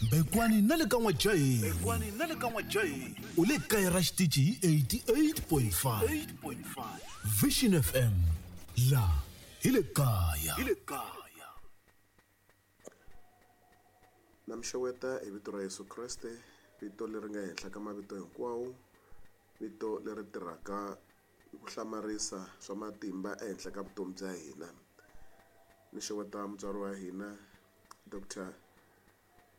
Mbekwani na le ka N'wajayi. Mbekwani na le ka N'wajayi. U le kaya ra xitichi hi 88.5. 8.5. Vision FM. La hi le kaya. Hi le kaya. Na mi xeweta hi vito ra Yesu Kreste, vito leri nga henhla ka mavito hinkwawo, vito leri tirhaka hi ku hlamarisa swa matimba ehenhla ka vutomi bya hina. Ni xeweta mutswari wa hina Doctor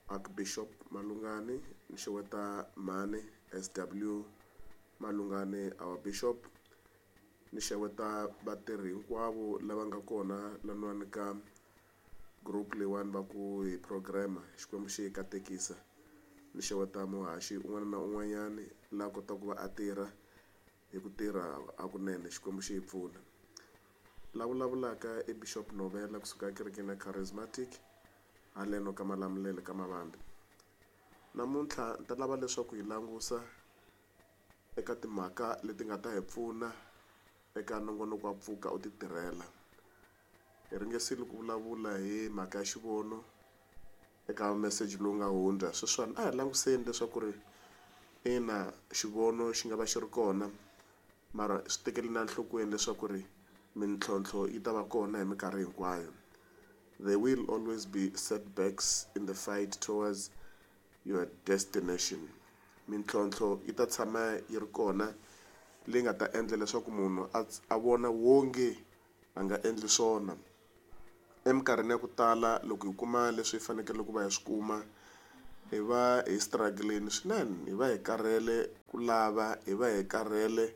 Archbishop Malungani, ni xeweta mhani SW Malungani our Bishop, ni xeweta vatirhi hinkwavo lava nga kona laniwani ka group leyiwani va ku hi program Xikwembu xi hi katekisa. Ni xeweta muhaxi un'wana na un'wanyani la kotaka ku va a tirha hi ku tirha hakunene Xikwembu xi hi pfuna. La vulavulaka i Bishop Novela kusuka ekerekeni ya Charismatic haleno ka Malamulele ka Mavambi. Namuntlha ni ta lava leswaku hi langusa eka timhaka leti nga ta hi pfuna eka nongonoko wa Pfuka u ti tirhela. Hi ringesile ku vulavula hi mhaka ya xivono eka message lowu nga hundza. Sweswiwani a hi languseni leswaku ri ina xivono xi nga va xi ri kona, mara swi tekeli na enhlokweni leswaku ri mintlhontlho yi ta va kona hi minkarhi hinkwayo. There will always be setbacks in the fight towards your destination. Mintlhontlho yi ta tshama yi ri kona leyi nga ta endla leswaku munhu a vona wonge a nga endli swona. Eminkarhini ya ku tala loko hi kuma leswi hi fanekele ku va hi swi kuma, hi va hi struggle-ini swinene, hi va hi karhele ku lava, hi va hi karhele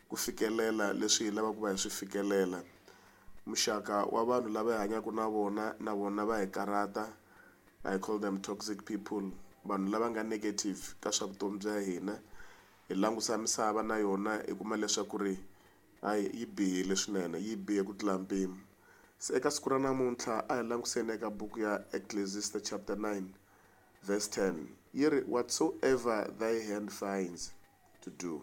ku fikelela leswi hi lavaka ku va hi swi fikelela. Muxaka wa vanhu lava hi hanyaka na vona, na vona va hi karhata. I call them toxic people, vanhu lava nga negative ka swa vutomi bya hina. Hi langusa misava na yona hi kuma leswaku ri hayi yi bihile swinene, yi bihe ku tlula mpimo. Se eka siku ra namuntlha a hi languseni eka buku ya Ecclesiastes chapter 9 verse 10. Yi ri, whatsoever thy hand finds to do,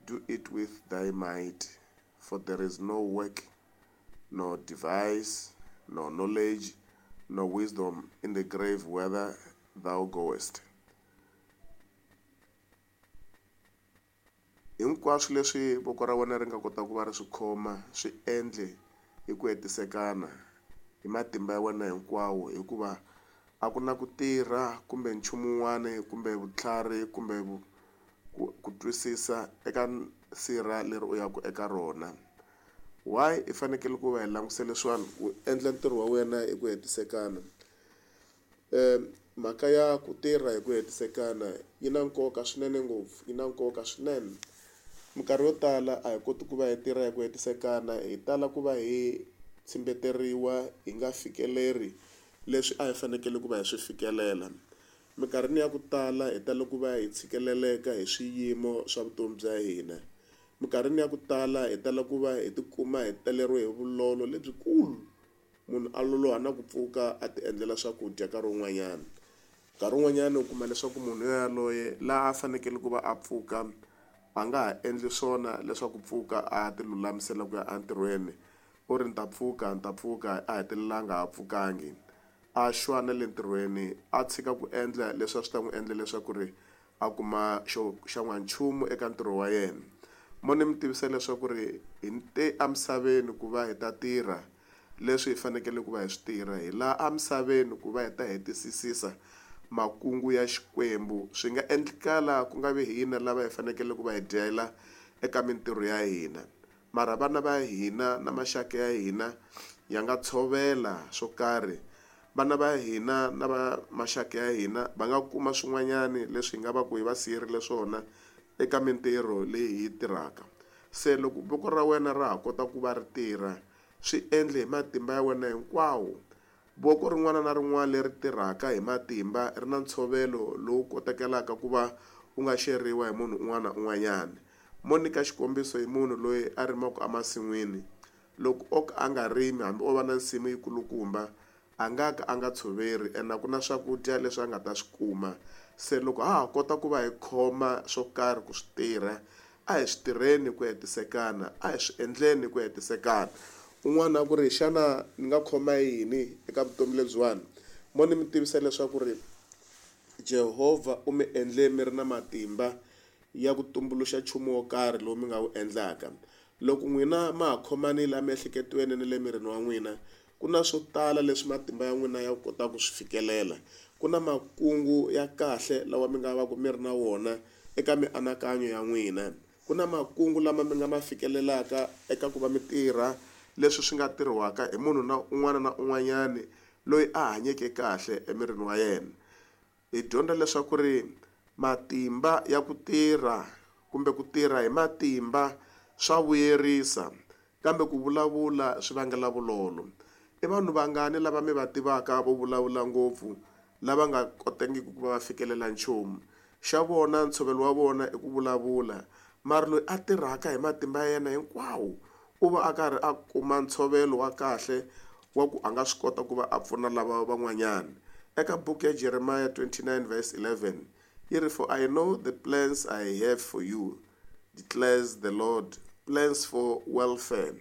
do it with thy might, for there is no work, no device, no knowledge, no wisdom in the grave whither thou goest. Hinkwaswo leswi voko ra wena ri nga kota ku va ri swi khoma, swi endle hi ku hetisekana hi matimba ya wena hinkwawo, hikuva a ku na ku tirha kumbe nchumu wun'wana kumbe vutlhari kumbe ku twisisa eka sirha leri u yaka eka rona. Why i fanekele ku va hi languse leswiwani u endla ntirho wa wena hi ku hetisekana? Mhaka ya ku tirha hi ku hetisekana yi na nkoka swinene ngopfu, yi na nkoka swinene. Minkarhi yo tala a hi koti ku va hi tirha hi ku hetisekana, hi tala ku va hi tshimbeteriwa hi nga fikeleri leswi a hi fanekele ku va hi swi fikelela. Minkarhini ya ku tala hi tala ku va hi tshikeleleka hi swiyimo swa vutomi bya hina. Minkarhini ya ku tala hi tala ku va hi tikuma hi taleriwe hi vulolo lebyikulu. Munhu a loloha na ku pfuka a ti endlela swakudya nkarhi wun'wanyana. Nkarhi wun'wanyana u kuma leswaku munhu yaloye laha a fanekele ku va a pfuka a nga ha endli swona leswaku pfuka a ti lulamisela ku ya entirhweni. U ri ni ta pfuka, ni ta pfuka, a hetelela a nga ha pfukangi. A xwa na le ntirhweni, a tshika ku endla leswi a swi ta n'wi endla leswaku ri a kuma xo xa n'wanchumu eka ntirho wa yena. Mo ni mi tivisa leswaku ri hi te emisaveni ku va hi ta tirha leswi hi fanekele ku va hi swi tirha, hi laha emisaveni ku va hi ta hetisisisa makungu ya Xikwembu. Swi nga endlekala ku nga vi hina lava hi fanekele ku va hi dyela eka mintirho ya hina, mara vana va hina na maxaka ya hina ya nga tshovela swo karhi. Vana va hina na va maxaka ya hina va nga kuma swin'wanyani leswi hi nga va ku hi va siyerile swona eka mintirho leyi hi yi tirhaka. Se loko voko ra wena ra ha kota ku va ri tirha, swi endle hi matimba ya wena hinkwawo. Voko rin'wana na rin'wana leri tirhaka hi matimba ri na ntshovelo lowu kotekelaka ku va u nga xeriwa hi munhu un'wana na un'wanyana. Mo nyika xikombiso hi munhu loyi a rimaka emasin'wini. Loko o ka a nga rimi, hambi o va na nsimu yikulukumba, a nga ka a nga tshoveri, ene a ku na swakudya leswi a nga ta swi kuma. Se loko ha ha kota ku va hi khoma swo karhi ku swi tirha, a hi swi tirheni hi ku hetisekana, a hi swi endleni hi ku hetisekana. Un'wana a ku ri, xana ni nga khoma yini eka vutomi lebyiwani? Mo ni mi tivisa leswaku ri Jehovha u mi endle mi ri na matimba ya ku tumbuluxa nchumu wo karhi lowu mi nga wu endlaka. Loko n'wina ma ha khomanile emiehleketweni ni le mirini wa n'wina, ku na swo tala leswi matimba ya n'wina ya kotaka ku swi fikelela. Ku na makungu ya kahle lawa mi nga va ku mi ri na wona eka mianakanyo ya n'wina. Ku na makungu lama mi nga ma fikelelaka eka ku va mi tirha leswi swi nga tirhiwaka hi munhu na un'wana na un'wanyani loyi a hanyeke kahle emirini wa yena. Hi dyondza leswaku ri matimba ya ku tirha kumbe ku tirha hi matimba swa vuyerisa kambe ku vulavula swi vangela vulolo. I vanhu vangani lava mi va tivaka vo vulavula ngopfu lava nga kotangiki ku va va fikelela nchumu? Xa vona ntshovelo wa vona i ku vulavula, mara loyi a tirhaka hi matimba ya yena hinkwawo u va a karhi a kuma ntshovelo wa kahle wa ku a nga swi kota ku va a pfuna lava van'wanyana. Eka buku ya Jeremiah 29 verse 11 yi ri, For I know the plans I have for you, declares the Lord, plans for welfare,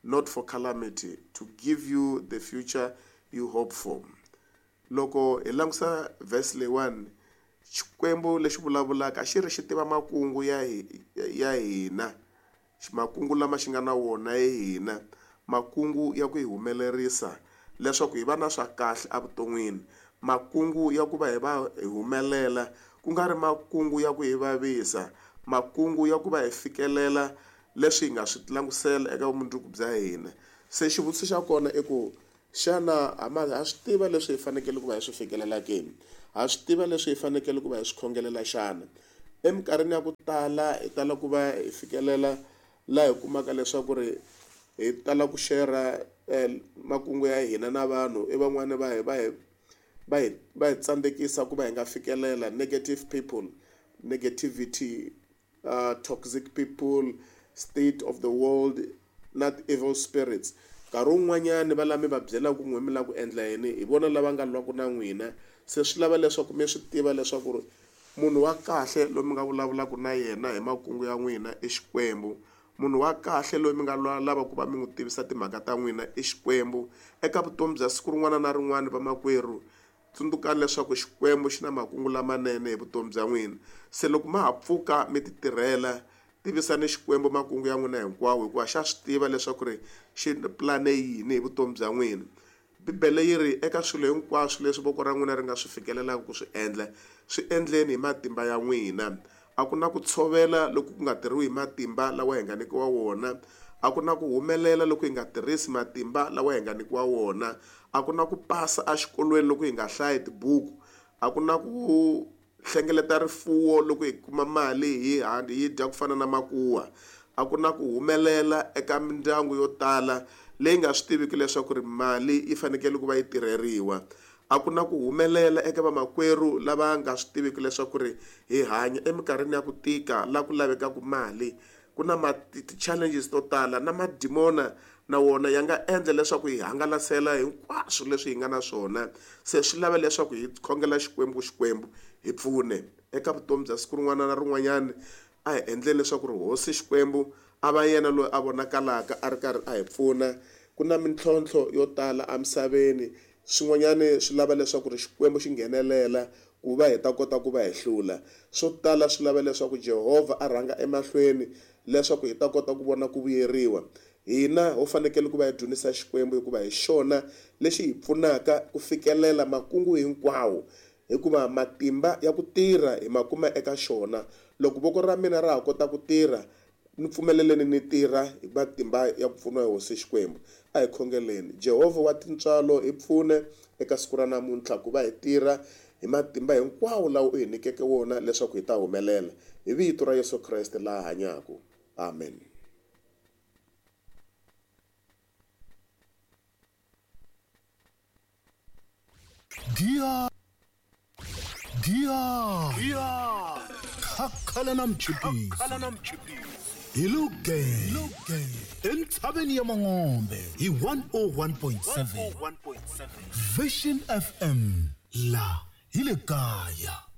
not for calamity, to give you the future you hope for. Loko hi langusa verse leyiwani, Xikwembu lexi vulavulaka xi ri xi tiva makungu ya ya hina, makungu lama xi nga na wona hi hina, makungu ya ku hi humelerisa leswaku hi va na swa kahle evuton'wini, makungu ya ku va hi va hi humelela ku nga ri makungu ya ku hi vavisa, makungu ya ku va hi fikelela leswi hi nga swi langusela eka vumundzuku bya hina. Se xivutiso xa kona i ku xana ha ma ha swi tiva leswi hi fanekele ku va hi swi fikelela ke? Ha swi tiva leswi hi fanekele ku va hi swi khongelela xana? Eminkarhini ya ku tala hi tala ku va hi fikelela laha hi kumaka leswaku ri hi tala ku share makungu ya hina na vanhu, i van'wani va hi va hi va hi va hi tsandzekisa ku va hi nga fikelela negative people, negativity, toxic people, state of the world na evil spirits. Nkarhi wun'wanyani va lava mi va byelaka ku n'we mi lava ku endla yini hi vona lava nga lwaka na n'wina. Se swi lava leswaku mi swi tiva leswaku ri munhu wa kahle loyi mi nga vulavulaka na yena hi makungu ya n'wina i Xikwembu. Munhu wa kahle loyi mi nga lava ku va mi n'wi tivisa timhaka ta n'wina i Xikwembu. Eka vutomi bya siku rin'wana na rin'wana vamakwerhu, tsundzukani leswaku Xikwembu xi na makungu lamanene hi vutomi bya n'wina. Se loko ma ha pfuka mi ti tirhela, tivisani Xikwembu makungu ya n'wina hinkwawo hikuva xa swi tiva leswaku ri xi pulane yini hi vutomi bya n'wina. Bibele yi ri eka swilo hinkwaswo leswi voko ra n'wina ri nga swi fikelelaka ku swi endla, swi endleni hi matimba ya n'wina. A ku na ku tshovela loku ku nga tirhiwi hi matimba lawa hi nga nyikiwa wona. A ku na ku humelela loko hi nga tirhisi matimba lawa hi nga nyikiwa wona. A ku na ku pasa exikolweni loko hi nga hlayi tibuku. A ku na ku hlengeleta rifuwo loko hi kuma mali hi hi dya ku fana na makuwa. A ku na ku humelela eka mindyangu yo tala leyi nga swi tiviki leswaku ri mali yi fanekele ku va yi tirheriwa. A ku na ku humelela eka vamakwerhu lava nga swi tiviki leswaku ri hi hanya eminkarhini ya ku tika laha ku lavekaka mali. Ku na ti-challenges to tala na madimona na wona ya nga endla leswaku hi hangalasela hinkwaswo leswi hi nga na swona. Se swi lava leswaku hi khongela Xikwembu, Xikwembu hi pfune eka vutomi bya siku rin'wana na rin'wanyana. A hi endleni leswaku ri Hosi Xikwembu a va yena loyi a vonakalaka a ri karhi a hi pfuna. Ku na mintlhontlho yo tala emisaveni, swin'wanyani swi lava leswaku ri Xikwembu xi nghenelela ku va hi ta kota ku va hi hlula. Swo tala swi lava leswaku Jehovha a rhanga emahlweni leswaku hi ta kota ku vona ku vuyeriwa. Hina ho fanekele ku va hi dzunisa Xikwembu hikuva hi xona lexi hi pfunaka ku fikelela makungu hinkwawo, hikuva matimba ya ku tirha hi ma kuma eka xona. Loko voko ra mina ra ha kota ku tirha, ni pfumeleleni ni tirha hi matimba ya ku pfuniwa hi Hosi Xikwembu. A hi khongeleni. Jehovha wa tintswalo, hi pfune eka siku ra namuntlha ku va hi tirha hi matimba hinkwawo lawa u hi nyikeke wona leswaku hi ta humelela. Hi vito ra Yesu Kreste laha hanyaka. Amen. Dia Dia Khakhala na mchipisi hi lo gang entshaveni ya Mangombe hi 101.7 Vision FM la hi le kaya.